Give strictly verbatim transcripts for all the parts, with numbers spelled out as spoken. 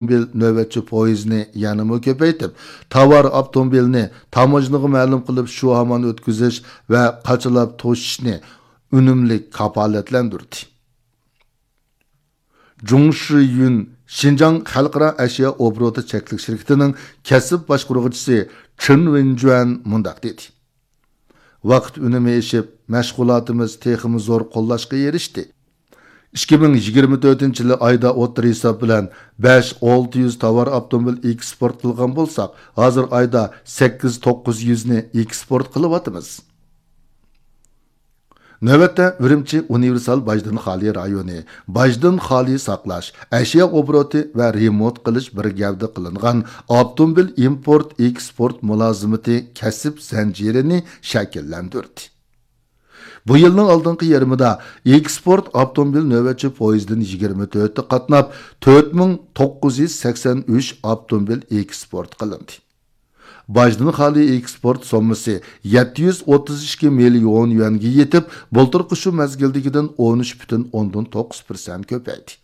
ئاپتوموبىل نۆۋەتچى پويىزىنى يەنىمۇ كۆپەيتىپ، تاۋار ئاپتوموبىلنى تاموژنىغا مەلۇم قىلىپ، شۇ ھامان ئۆتكۈزۈش ۋە قاچىلاپ توشۇشنى ئۈنۈملۈك كاپالەتلەندۈردى. جۇڭ شىيۈن شىنجاڭ خەلقئارا ئەشيا ئوبوروتى چەكلىك شىركىتىنىڭ كەسىپ باشقۇرغۇچىسى چېن ۋېنجۈەن مۇنداق دېدى: ۋاقىت ئۈنۈمى ئېشىپ، مەشغۇلاتىمىز تېخىمۇ زور قوللاشقا ئېرىشتى. ئىككى مىڭ يىگىرمە تۆتىنچى يىلى ئايدا ئوتتۇرا ھېساب بىلەن بەش ئالتە يۈز تاۋار ئاپتوموبىل ئېكسپورت قىلغان بولساق، ھازىر ئايدا سەككىز توققۇز يۈزنى ئېكسپورت قىلىۋاتىمىز. نۆۋەتتە ئۈرۈمچى ئۇنىۋېرسال باجدىن خالىي رايونى، باجدىن خالىي ساقلاش، ئەشيا ئوبوروتى ۋە رېمونت قىلىش بىر گەۋدە قىلىنغان ئاپتوموبىل ئىمپورت ئېكسپورت مۇلازىمىتى كەسىپ زەنجىرىنى شەكىللەندۈردى. بۇ يىلنىڭ ئالدىنقى يېرىمىدا ئېكسپورت ئاپتوموبىل نۆۋەتچى پويىزىدىن يىگىرمە تۆتى قاتناپ، تۆت مىڭ توققۇز يۈز سەكسەن ئۈچ ئاپتوموبىل ئېكسپورت قىلىندى. باجدىن خالىي ئېكسپورت سوممىسى يەتتە يۈز ئوتتۇز ئىككى مىليون يۈەنگە يېتىپ، بۇلتۇرقى شۇ مەزگىلدىكىدىن ئون ئۈچ پۈتۈن ئوندىن توققۇز پىرسەنت كۆپەيدى.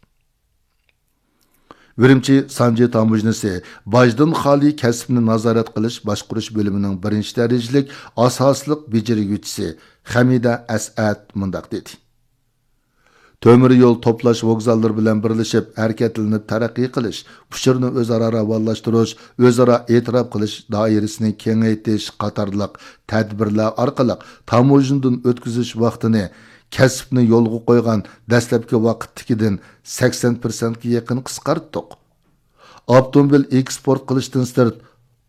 ئۈرۈمچى سانجى تاموژنىسى باجدىن خالىي كەسىپنى نازارەت قىلىش باشقۇرۇش بۆلۈمىنىڭ بىرىنچى دەرىجىلىك ئاساسلىق بېجىرگۈچىسى خەمىدە ئەسئەت مۇنداق دېدى: تۆمۈر يول توپلاش ۋوگزاللىرى بىلەن بىرلىشىپ ھەرىكەتلىنىپ تەرەققىي قىلىش، ئۇچۇرنى ئۆزئارا راۋانلاشتۇرۇش، ئۆزئارا ئېتىراپ قىلىش دائىرىسىنى كېڭەيتىش قاتارلىق تەدبىرلەر ئارقىلىق تاموژنىدىن ئۆتكۈزۈش ۋاقتىنى، كەسىپنى يولغا قويغان دەسلەپكى ۋاقىتتىكىدىن سەكسەن پىرسەنتكە يېقىن قىسقارتتۇق. ئاپتوموبىل ئېكسپورت قىلىشتىن سىرت،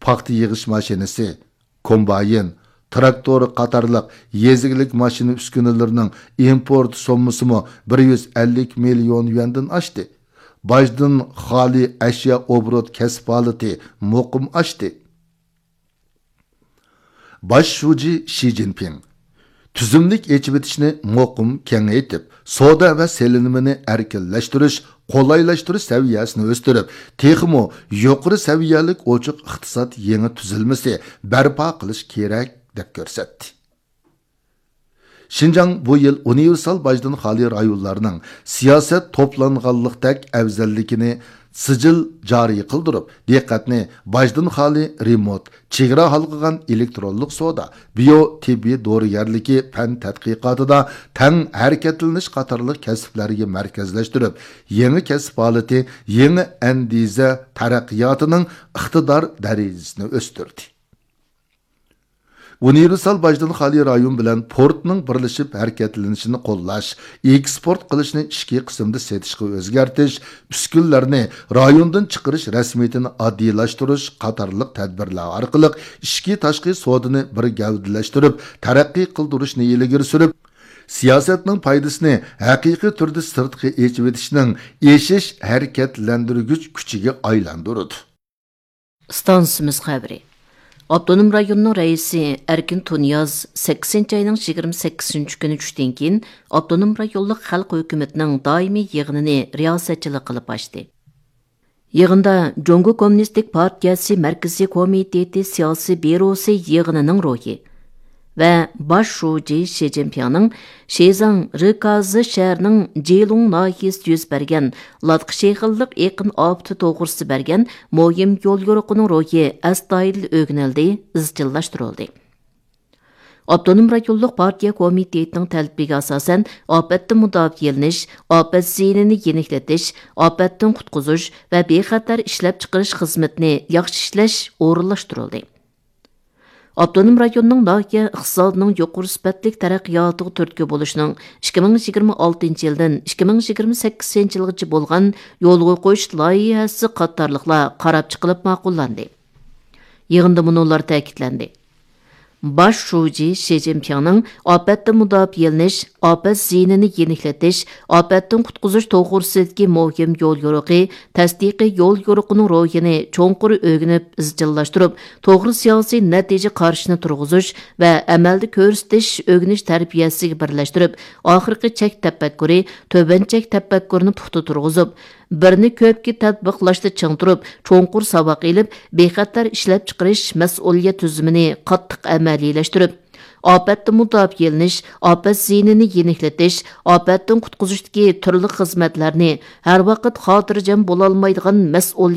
پاختا يىغىش ماشىنىسى، كومباين، تىراكتور قاتارلىق يېزا ئىگىلىك ماشىنا ئۈسكۈنىلىرىنىڭ ئىمپورت سوممىسىمۇ بىر يۈز ئەللىك مىليون يۈەندىن ئاشتى. باجدىن خالىي ئەشيا ئوبوروت كەسىپ ھالىتى مۇقىم ئاشتى. باش شۇجى شى جىنپىڭ تۈزۈملۈك ئېچىۋېتىشنى مۇقىم كېڭەيتىپ، سودا ۋە سېلىنمىنى ئەركىنلەشتۈرۈش، قولايلاشتۇرۇش سەۋىيەسىنى ئۆستۈرۈپ، تېخىمۇ يۇقىرى سەۋىيەلىك ئوچۇق ئىقتىساد يېڭى تۈزۈلمىسى بەرپا قىلىش كېرەك، دەپ كۆرسەتتى. شىنجاڭ بۇ يىل ئۇنىۋېرسال باجدىن خالىي رايونلارنىڭ سىياسەت توپلانغانلىقتەك ئەۋزەللىكىنى سىجىل جارى قىلدۇرۇپ، دىققەتنى باجدىن خالىي رېمونت، چېگرا ھالقىغان ئېلېكترونلۇق سودا، بىيو تېببىي دورىگەرلىكى پەن تەتقىقاتىدا تەڭ ھەرىكەتلىنىش قاتارلىق كەسىپلەرگە مەركەزلەشتۈرۈپ، يېڭى كەسىپ ھالىتى، يېڭى ئەندىزە تەرەققىياتىنىڭ ئىقتىدار دەرىجىسىنى ئۆستۈردى. ئۇنىۋېرسال باجدىن خالىي رايون بىلەن پورتنىڭ بىرلىشىپ ھەرىكەتلىنىشىنى قوللاش، ئېكسپورت قىلىشنى ئىچكى قىسىمدا سېتىشقا ئۆزگەرتىش، ئۈسكۈنىلەرنى رايوندىن چىقىرىش رەسمىيىتىنى ئاددىيلاشتۇرۇش قاتارلىق تەدبىرلەر ئارقىلىق ئىچكى تاشقى سودىنى بىر گەۋدىلەشتۈرۈپ، تەرەققىي قىلدۇرۇشنى ئىلگىرى سۈرۈپ، سىياسەتنىڭ پايدىسىنى ھەقىقىي تۈردە سىرتقا ئېچىۋېتىشنىڭ ئېشىش ھەرىكەتلەندۈرگۈچ كۈچىگە ئايلاندۇرىدۇ. ئىستانسىمىز خەۋىرى. ئاپتونوم رايوننىڭ رەئىسى ئەركىن تۇنىياز سەككىزىنچى ئاينىڭ يىگىرمە سەككىزىنچى كۈنى چۈشتىن كېيىن ئاپتونوم رايونلۇق خەلق ھۆكۈمىتىنىڭ دائىمىي يىغىنىنى رىياسەتچىلىك قىلىپ ئاچتى. يىغىندا جۇڭگو كوممۇنىستىك پارتىيەسى مەركىزىي كومىتېتى سىياسىي بيۇروسى يىغىنىنىڭ روھى، ۋە باش شۇجى شى جىنپىڭنىڭ شىزاڭ رىكازى شەھىرىنىڭ جىلۇڭ ناھىيەسىدە يۈز بەرگەن لاتا شېغىللىق ئېقىن ئاپىتى توغرىسىدا بەرگەن مۇھىم يوليورۇقىنىڭ روھى ئەستايىدىل ئۆگىنىلدى، ئىزچىللاشتۇرۇلدى. ئاپتونوم رايونلۇق پارتىيە كومىتېتىنىڭ تەلىپىگە ئاساسەن، ئاپەتتىن مۇداپىئەلىنىش، ئاپەت زىيىنىنى يېنىكلىتىش، ئاپەتتىن قۇتقۇزۇش ۋە بىخەتەر ئىشلەپچىقىرىش خىزمىتىنى ياخشى ئىشلەش ئورۇنلاشتۇرۇلدى. ئاپتونوم رايوننىڭ ناھىيە ئىقتىسادىنىڭ يۇقىرى سۈپەتلىك تەرەققىياتىغا تۈرتكە بولۇشنىڭ ئىككى مىڭ يىگىرمە ئالتىنچى يىلدىن ئىككى مىڭ يىگىرمە سەككىزىنچى يىلغىچە بولغان يولغا قويۇش لايىھەسى قاتارلىقلار قاراپ چىقىلىپ ماقۇللاندى. يىغىندا مۇنۇلار تەكىتلەندى: باش شۇجى شى جىنپىڭنىڭ ئاپەتتىن مۇداپىئەلىنىش، ئاپەت زىيىنىنى يېنىكلىتىش، ئاپەتتىن قۇتقۇزۇش توغرىسىدىكى مۇھىم يوليورۇقى، تەستىقىي يوليورۇقىنىڭ روھىنى چوڭقۇر ئۆگىنىپ ئىزچىللاشتۇرۇپ، توغرا سىياسىي نەتىجە قارىشىنى تۇرغۇزۇش ۋە ئەمەلدە كۆرسىتىش ئۆگىنىش تەربىيەسىگە بىرلەشتۈرۈپ، ئاخىرقى چەك تەپەككۇرى، تۆۋەن چەك تەپەككۇرىنى پۇختا تۇرغۇزۇپ، بىرنى كۆپكە تەتبىقلاشتا چىڭ تۇرۇپ، چوڭقۇر ساۋاق ئېلىپ، بىخەتەر ئىشلەپچىقىرىش مەسئۇلىيەت تۈزۈمىنى قاتتىق ئەمەلىيلەشتۈرۈپ، ئاپەتتىن مۇداپىئەلىنىش، ئاپەت زىيىنىنى يېنىكلىتىش، ئاپەتتىن قۇتقۇزۇشتىكى تۈرلۈك خىزمەتلەرنى ھەر ۋاقىت خاتىرجەم بولالمايدىغان مەسئۇلىيەت